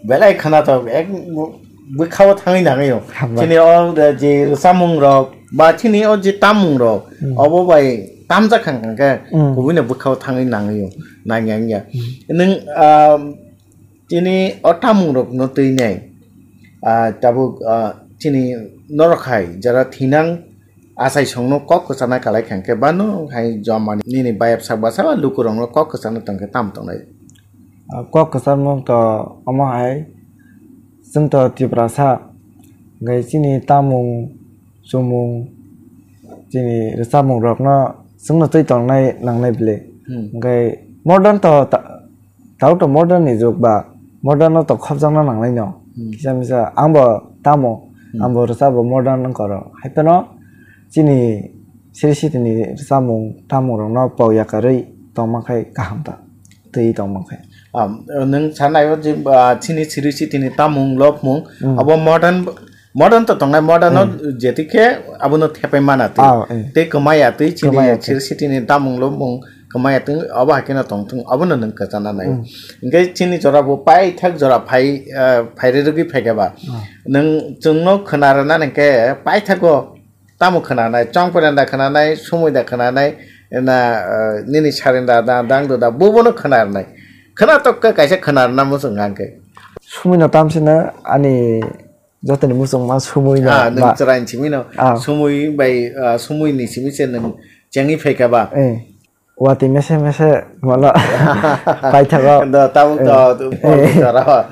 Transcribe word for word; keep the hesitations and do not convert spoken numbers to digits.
Belai khwnathok, ek bwkhao thangwi nangwi o. Hambai. Chini o je rwchapmung rok, ba chini o je tammung rok, Hmm. obo bai tamjak kha hwnkhe Hmm. kubui no bwkhao thangwi nangwi o, nangya wngya. Hmm. Nwng, ah, chini o tammung rok no twi nai, ah, tabuk, ah, chini norok hai jara thinang achai songno kok kwchana kalai kha hwnkhe ba nwng hai joma nini bayap sak bwsa lukurokno kok kwchana tongkhe tamo tongnai? Ah, kok kwcharmung to omo hai, chwng to Tiprasa, hwnkhe chini tamung, chumung, chini rwchapmung rokno chwngno twi tongnai nangnai bwle. Hmm. Hwnkhe modern to ta-, tabuk to modern ni jug ba, modern no to khopjakna nangnai no. Hmm. Kisa misa ang bo tamo, Hmm. ang bo rwchap bo modern wngkha oro. Hai phano chini siri siti ni rwchapmung tamung rokno pok yakarwi tongma khai kaham ta. Twi tongma khai. Ah, nwng sanai o je, ah, chini siri siti ni tamung lopmung, Hmm. abo modern, modern to tongnai, modern no Hmm. jetikhe abono thepai mana twi. Ah, eh. Tei kwmaya twi chini Kwmaya twi. siri siti ni tamung lopmung kwmaya twi, obo hai kheno tongthung, abono nwng kwchana nai. Hmm. Hwnkhe chini jora bo paithak jora phai, ah, phairwi rwgwi phaikha ba. Ah. Nwng chwngno khwna rwna hwnkhe paithago tamo khwnanai, chongpre da khwnanai, sumui da khwnanai, na, ah, nini sarin da, da, dang da, da, bobono khwna rwnai. Khwna tokka kaisa khwna rwna muchung hwnkhe. Sumui no tamsino ani jotoni muchung ma sumui no Ah, nwng ba. chwraini simi no, Ah. sumui bai, ah, sumui ni simi se nwng chengwi phaikha ba. Eh. Watwi mese mese mano paithago. Do, tabuk do, Eh. do, Eh. do, do, do.